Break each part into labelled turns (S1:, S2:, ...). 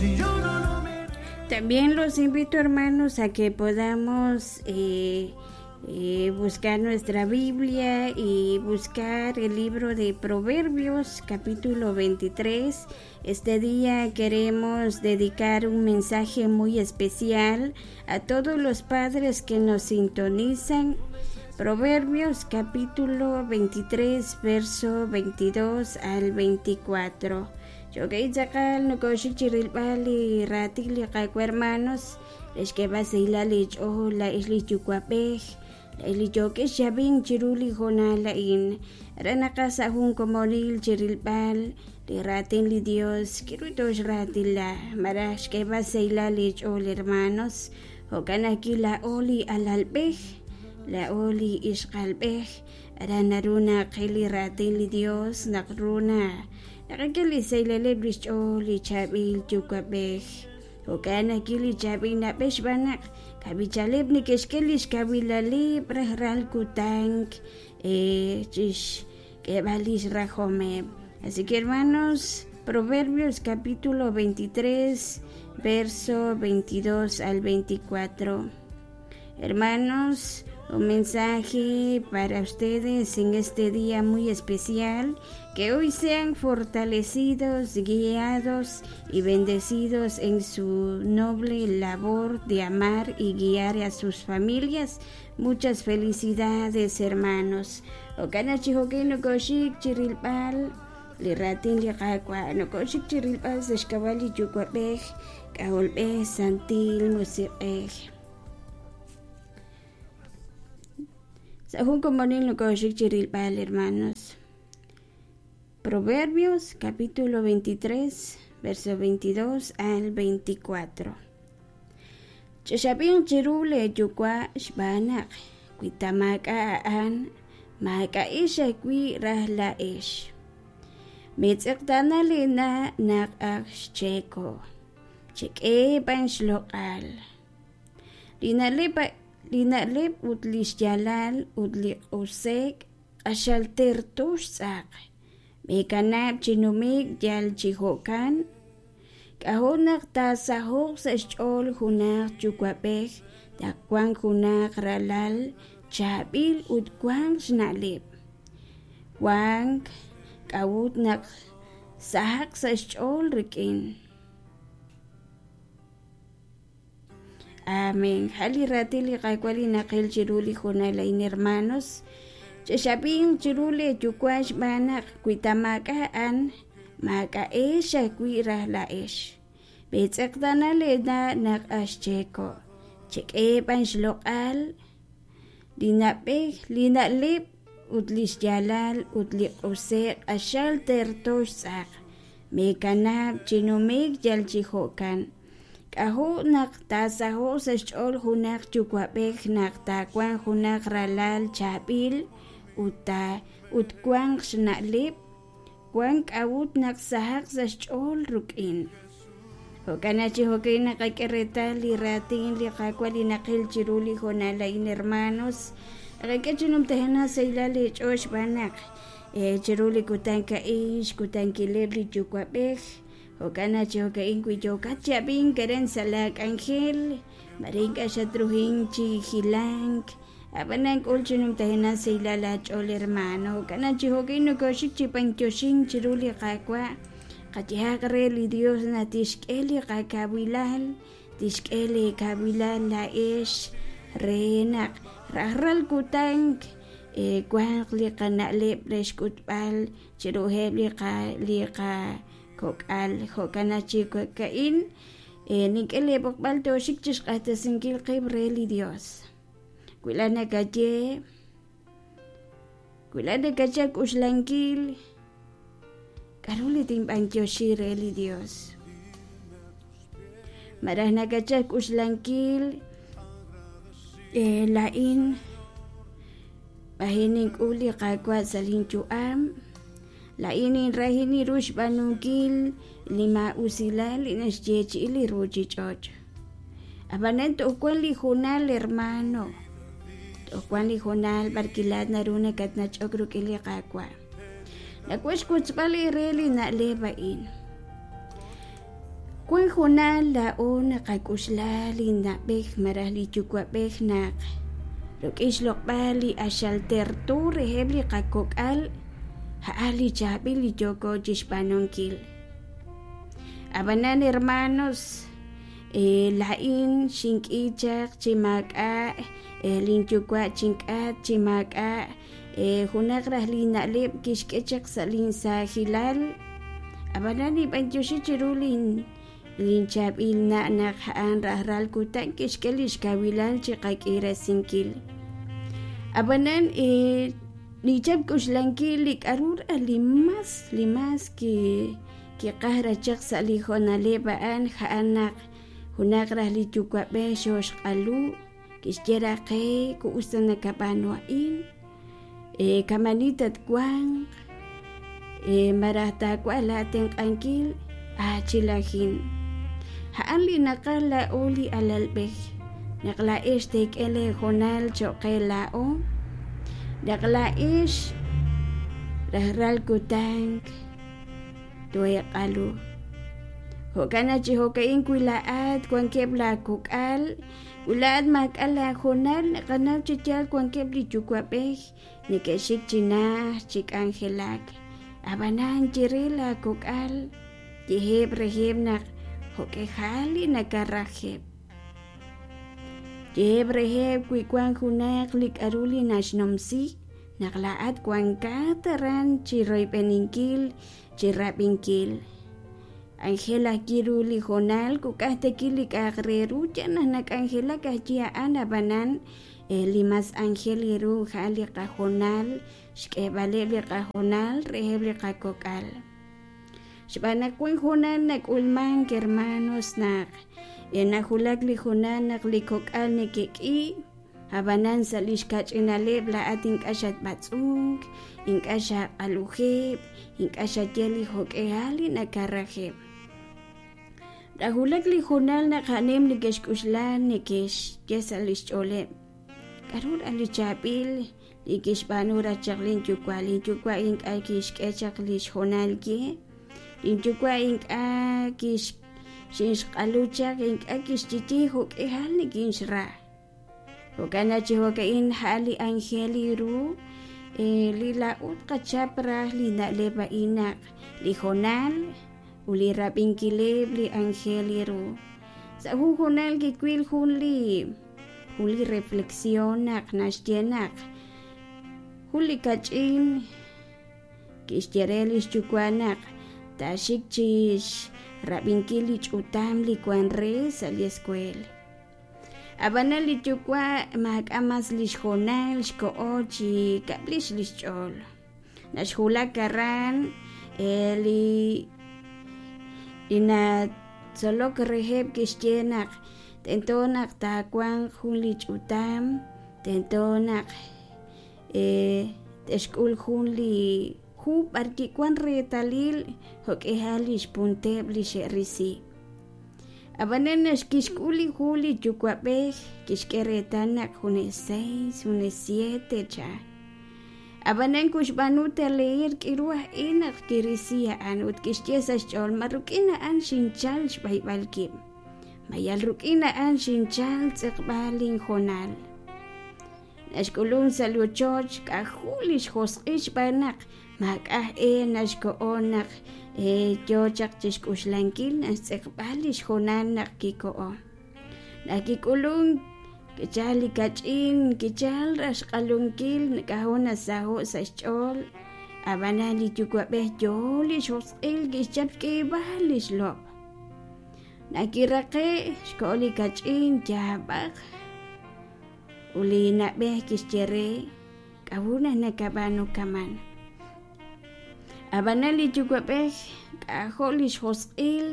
S1: Si yo no lo merezco.
S2: También los invito, hermanos, a que podamos eh, eh, buscar nuestra Biblia y buscar el libro de Proverbios, capítulo 23. Este día queremos dedicar un mensaje muy especial a todos los padres que nos sintonizan. Proverbios capítulo 23, verso 22 al 24. Chokay tz'aqal nokoxik chi rilb'al li raatin li Qaawa' hermanos, re xk'eeb'al sahilal li ch'ool laa'ex li yuwa'b'ej, laa'ex li yookex chi ab'ink chiru li hoonal a'in. Aran naqaj sa' jun komonil chi rilb'al li raatin li Dios, k'aru tooxraatila malaj xk'eeb'al sahilal li ch'ool hermanos. Jo'kan ajwi' laa'o li alalb'ej, laa'o li ixqa'alb'ej, aran naru naqil li raatin li Dios naq ru na naqak'e li sahilaleb' li xch'ool li chaab'il yuwa'b'ej. Jo'kan ajwi' li chaab'il na'b'ej xb'aan naq kab'ichaleb' neke'xk'e li xkawilaleb' rajlal kutan chixk'eeb'al lix rajomeb'. Así que hermanos, Proverbios capítulo 23, verso 22 al 24. Hermanos, un mensaje para ustedes en este día muy especial, que hoy sean fortalecidos, guiados y bendecidos en su noble labor de amar y guiar a sus familias. Muchas felicidades, hermanos. Jo'kan chi jo'kan nokoxik chi rilb'al li raatin li Qaawa', nokoxik chi rilb'al sa' xk'ab'a' li Yuwa'b'ej, K'ajolb'ej, Santil Musiq'ej. Sa' jun komonil nokoxik chi rilb'al, hermanos. Proverbios capítulo 23, verso 22 al 24. Chexab'inq chiru leeyuwa' xb'aan naq wi ta maak'a' a'an, maak'a'ex ajwi' raj laa'ex. Meetz'eqtaana leena' naq ak xcheeko', chek'e b'an xloq'al. Li na'leb' li na'leb' ut li xyaalal ut li q'use'k q'axal terto xtz'aq. Meekanab' chi nume'k yal chi jo'kan. K'ajo' naq taasaho'q sa' xch'ool junaq yuwa'b'ej naq wank junaq ralal chaab'il ut wank xna'leb'. Wank k'a'ut naq sahaq sa' xch'ool rik'in. Amén. Ja li raatin li Qaawa' li naqil chiru li hoonal a'in, hermanos. Chexab'inq chiru leeyuwa' xb'aan naq wi ta maak'a' a'an, maak'a'ex ajwi' raj laa'ex. Meetz'eqtaana leena' naq ak xcheeko', chek'e b'an xloq'al li na'b'ej, li na'leb' ut li xyaalal ut li q'use'k q'axal terto xtz'aq. Meekanab' chi nume'k yal chi jo'kan. K'ajo' naq taasaho'q sa' xch'ool junaq yuwa'b'ej naq taawanq junaq ralal chaab'il ut ta ut wanq xna'leb', wank k'a'ut naq sahaq sa' xch'ool rik'in. Jo'kan naq chi jo'kan naqak'e reetal li raatin li Qaawa' li naqil chiru li hoonal a'in, hermanos. Naqak'e chi numtajenaq sahilal eech'ool xb'aan naq chiru li kutan a'in xkutankileb' li yuwa'b'ej. Jo'kan naq chi jo'ka'in wi yookat chi ab'ink aran sa' laak'anjel, mare ink'a' xatruhink chi hilank, ab'anan k'ul chi numtajenaq sahilal aach'ool hermano. Jo'kan naq chi jo'ka'in nokooxik chi b'antioxink chiru li Qaawa', qayehaq re li Dios naq tixk'e li qakawilal, tixk'e leekawilal laa'ex re naq rajlal kutan wanq li qana'leb' re xk'utb'al chiruheb' li qa li qa kok'al. Jo'kan naq chi jo'ka'in nink'e leeb'oqb'al tooxik chi xq'axtesinkil qib' re li Dios. Wi laa'at nakaye, wi laa'at nakachal k'uxlankil, k'aru li tinb'antioxi re li Dios? Malaj nakachal k'uxlankil, laa'in b'aji nink'ul li Qaawa' sa' linyu'am, Laa'in ninrahin ru xb'aanunkil li maa'usilal li naxyeechi'i li ruuchich'och'. Ab'anan toj wank li hoonal hermano, toj wank li hoonal b'arwi' laa'at naru nakatnach'ok rik'in li Qaawa'. Nawaj xwotzb'al eere li na'leb' a'in. Wan hoonal laa'o naqak'oxla li na'b'ej malaj li yuwa'b'ej naq rik'in xloq'b'al li q'axal terto reheb' li qakok'al a'an li chaab'il li yooko chixb'aanunkil. Ab'anan hermanos, laa'in xink'i chaq chi maak'a' linyuwa' chink'atq chi maak'a' junaq raj li na'leb' kixk'e chaq sa' linsaajilal. Ab'anan ninb'anyoxi chiru lin linchaab'il na' naq a'an rajlal kutan kixk'e li xkawilal chi qak'irasinkil. Ab'anan ninchap xk'oxlankil li k'aru raj li mas li mas kiqaj raj chaq sa' li hoonaleb' a'an a'an naq junaq raj li yuwa'b'ej xooxq'alu kixye raj qe ku us ta nakab'aanu a'in kamani tatwanq malaj taawaj laatenq'ankil aachilajin. A'an li naqaj laa'o li alalb'ej naq laa'ex teek'e leehoonal cho'q qe laa'o naq laa'ex rajlal kutan tooeeq'alu. Jo'kan naq chi jo'ka'in wi laa'at wankeb' laakok'al wi laa'at maak'a' laahoonal naqanaw chi yaal wankeb' li yuwa'b'ej neke'xik chi najt chi k'anjelak. Ab'anan ye re laakok'al yeheb' reheb' naq jo'k'ejal li nakarajeb'. Yeheb' reheb' wi wank junaq li k'aru li naxnumsi naq laa'at wankat aran chi royb'eninkil chi rab'inkil. Anjel ajwi' ru li hoonal kuk'aj tekil li k'a'aq re ru yal naq nak'anjelak ajwi' a'an ab'anan li mas anjel ru a'an li qahoonal xk'eeb'aleb' li qahoonal reheb' li qakok'al. Xb'aan naq wank hoonal nak'ulmank hermanos naq nawulak li hoonal naq li kok'al neke'k'i ab'anan sa' li xkach'inaleb' laa'at ink'a' xatb'atz'unk, ink'a' xaq'alujeb', ink'a' xaye li jo'k'ehal li nakarajeb'. Nawulak li hoonal naq a'aneb' neke'xk'oxla neke'xye sa' li xch'ooleb' k'aru raj li chaab'il li kixb'aanu raj chaq linyuwa' linyuwa' ink'a' kixk'e chaq li xhoonal ye linyuwa' ink'a' kix xinxq'alu chaq ink'a' kixye jo'k'ihal nikinxra. Jo'kan naq chi jo'ka'in a'an li anjel ru li laa'o tqachap raj li na'leb' a'in naq li hoonal ut li rab'inkileb' li anjel ru. Sa' jun hoonal kiwil jun li reflexión naq naxye naq jun li kach'in kixye re li xyuwa' naq taaxik chi xrab'inkil li ch'utam li wank re sa' li escuela. Ab'anan li yuwa' maak'a' mas li xhoonal xkoho chi kab'lix li xch'ool. Naxwulak aran li natzolok reheb' kixye naq tento naq taawanq jun li ch'utam, tento naq te'xk'ul jun li hu b'arwi' wank reetalil jo'k'ihal li xpunteb' li xe'risi. Ab'anan naq kixk'ul li hu li yuwa'b'ej kixk'e reetal naq junes seis, junes siete cha. Ab'anan kuxb'aanu ta leer k'iru aj e naq kirisi a'an ut kixye sa' xch'ool ma rik'in a'an xinchal xb'ayb'al kib', ma yal rik'in a'an xinchal tz'eqb'al linhoonal. Naxk'ulunk sa' li ochoch k'ajo' li xjosq'il xb'aan naq maak'a' e naxko'o naq yo chaq chi xk'oxlankil naxtz'eqb'al li xhoonal naq kiko'o. Naq kik'ulunk kichal li kach'in kichal raj xq'alunkil k'ajo' nasaho'k sa' xch'ool ab'anan li yuwa'b'ej yo li xjosq'il kixchap xk'eeb'al li xlob'. Naq kiraqe'k xko'o li kach'in yaab'aq ut li na'b'ej kixye re k'a'ut naq nakab'aanu kaman. Ab'anan li yuwa'b'ej k'ajo' li xjosq'il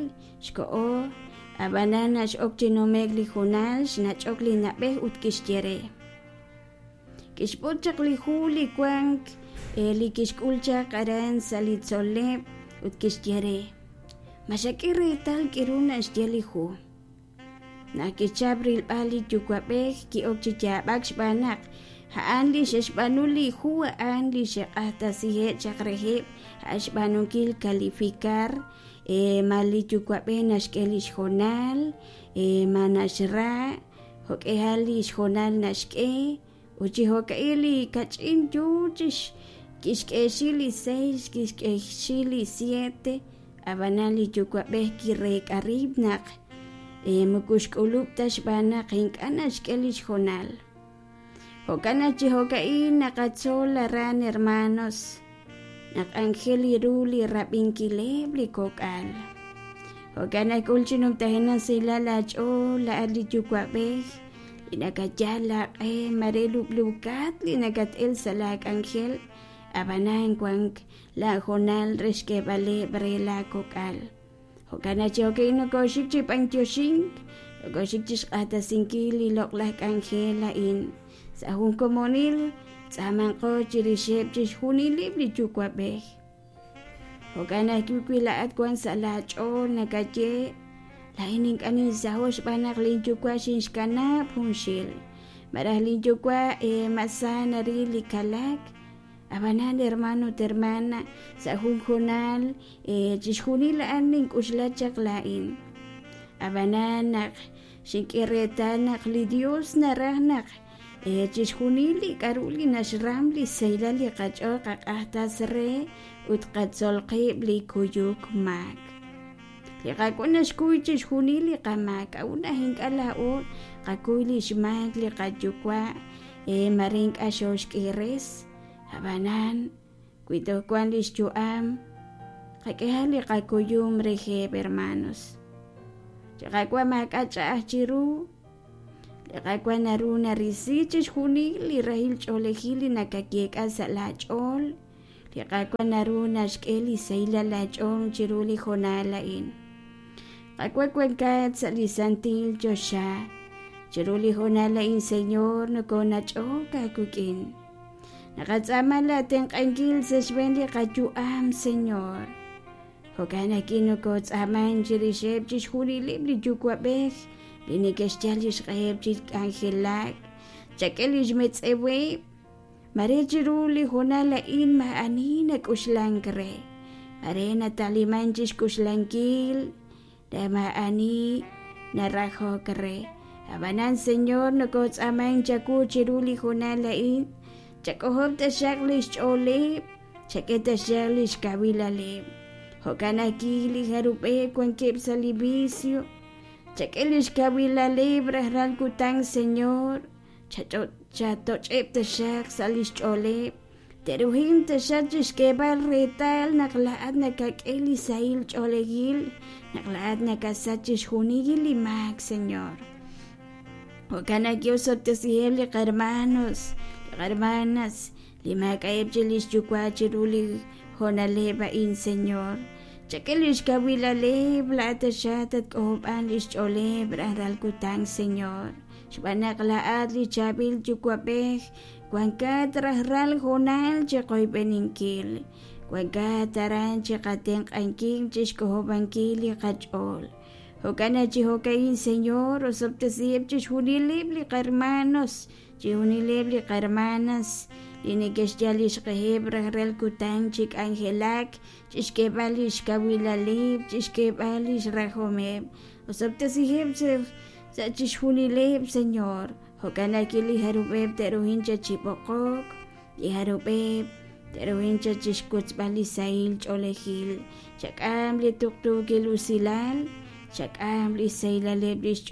S2: xko'o ab'anan naq x'ok chi nume'k li hoonal xnach'ok li na'b'ej ut kixye re. Kixb'ot chaq li hu li wank li kixk'ul chaq aran sa' li tzol'leb' ut kixye re ma xak'e reetal k'aru naxye li hu. Naq kichap rilb'al li yuwa'b'ej ki'ok chi yaab'ak xb'aan naq a'an li xe'xb'aanu li hu a'an li xe'q'axtesiheb' chaq reheb' a'an xb'aanunkil calificar. ma li yuwa'b'ej naxk'e li xhoonal, ma naxra, jo'k'ihal li xhoonal naxk'e, ut chi jo'ka'in li kach'in yoo chix kixk'eexi li seis, kixk'eexi li siete, ab'anan li yuwa'b'ej kireek'a rib' naq moko xk'ulub' ta xb'aan naq ink'a' naxk'e li xhoonal. Jo'kan naq chi jo'ka'in naqatzol aran hermanos naq anjel ru li rab'inkileb' li kok'al. Jo'kan naq k'ul chi numtajenaq sahilal aach'ool laa'at li yuwa'b'ej li nakayal aaq'e mare lub'luukat li nakat-el sa' laa k'anjel, ab'anan wank laa hoonal re xk'eeb'aleb' re laa kok'al. Jo'kan naq chi jo'ka'in nokooxik chi b'antioxink, nokooxik chi xq'axtesinkil li loq'laj k'anjel a'in. Sa' jun komonil tz'aamanqo chirixeb' chixjunileb' li yuwa'b'ej. Jo'kan ajwi' wi laa'at wank sa' laach'ool nakaye, laa'in ink'a' ninsaho' xb'aan naq linyuwa' xinxkanab' junxil, malaj linyuwa' ma sa naril li kalak. Ab'anan hermano ut hermana, sa' jun hoonal chixjunil a'an nink'uxla chaq laa'in. Ab'anan naq xink'e reetal naq li Dios naraj naq chixjunil li k'a'ru li naxram li sahilal li qach'ool qaq'ajtas re ut qatzol qib' li kuyuk maak. Li Qaawa' naxkuy chixjunil li qamaak, k'a'ut naq ink'a' laa'o qakuy li xmaak li qayuwa' mare ink'a' xooxk'iires, ab'anan wi toj wank li xyu'am qak'ehaq li qakuyum reheb' hermanos. Li Qaawa' maak'a' ch'a'aj chiru, li Qaawa' naru narisi chixjunil li rahil ch'oolejil li nakayeek'a sa' laach'ool, li Qaawa' naru naxk'e li sahilal laach'ool chiru li hoonal a'in. Qaawa' wankat sa' li santil choxa, chiru li hoonal a'in Señor nokoonach'ok aawik'in. Naqatz'aama laatenq'ankil sa' xb'een li qayu'am Señor. Jo'kan naq nokootz'aaman chirixeb' chixjunileb' li yuwa'b'ej li neke'xyal li xq'eheb' chi k'anjelak, chak'e li xmetz'eweb', mare chiru li hoonal a'in maa'ani nak'uxlank re, mare nataliman chi xk'uxlankil re maa'ani narajok re. Ab'anan Señor nokootz'aaman chawu chiru li hoonal a'in, chak'ojob' taxaq li xch'ooleb', chak'e taxaq li xkawilaleb'. Jo'kan ajwi' li jarub'eb' wankeb' sa' li vicio, chak'e li xkawilaleb' rajlal kutan Señor, chatoch'eb' taxaq sa' li xch'ooleb', te'ruhin taxaq chi xk'eeb'al reetal naq laa'at nakak'e li sahil ch'oolejil, naq laa'at nakasach chixjunil li maak Señor. Jo'kan naq osob'tesiheb' li qarmanos, li qarmanas, li maak'a'eb' chi li xyuwa' chiru li hoonaleb' a'in Señor. Chak'e li xkawilaleb' laa'at taxaq tatk'ojob'an li xch'ooleb' rajlal kutan Señor. Xb'aan naq laa'at li chaab'il yuwa'b'ej wankat rajlal hoonal chi qoyb'eninkil, wankat aran chi qatenq'ankil chi xk'ojob'ankil li qach'ool. Jo'kan naq chi jo'ka'in Señor, osob'tesiheb' chixjunileb' li qarmanos, chixjunileb' li qarmanas li neke'xyal li xq'eheb' rajlal kutan chi k'anjelak, chi xk'eeb'al li xkawilaleb', chi xk'eeb'al li xrajomeb'. Osob'tesiheb' sa' chixjunileb' Señor. Jo'kan naq li jarub'eb' te'ruhin cha chi b'oqok, li jarub'eb' te'ruhin cha chi xkotzb'al li sahil ch'oolejil, chak'am li tuqtuukil usilal, chak'am li sahilaleb' li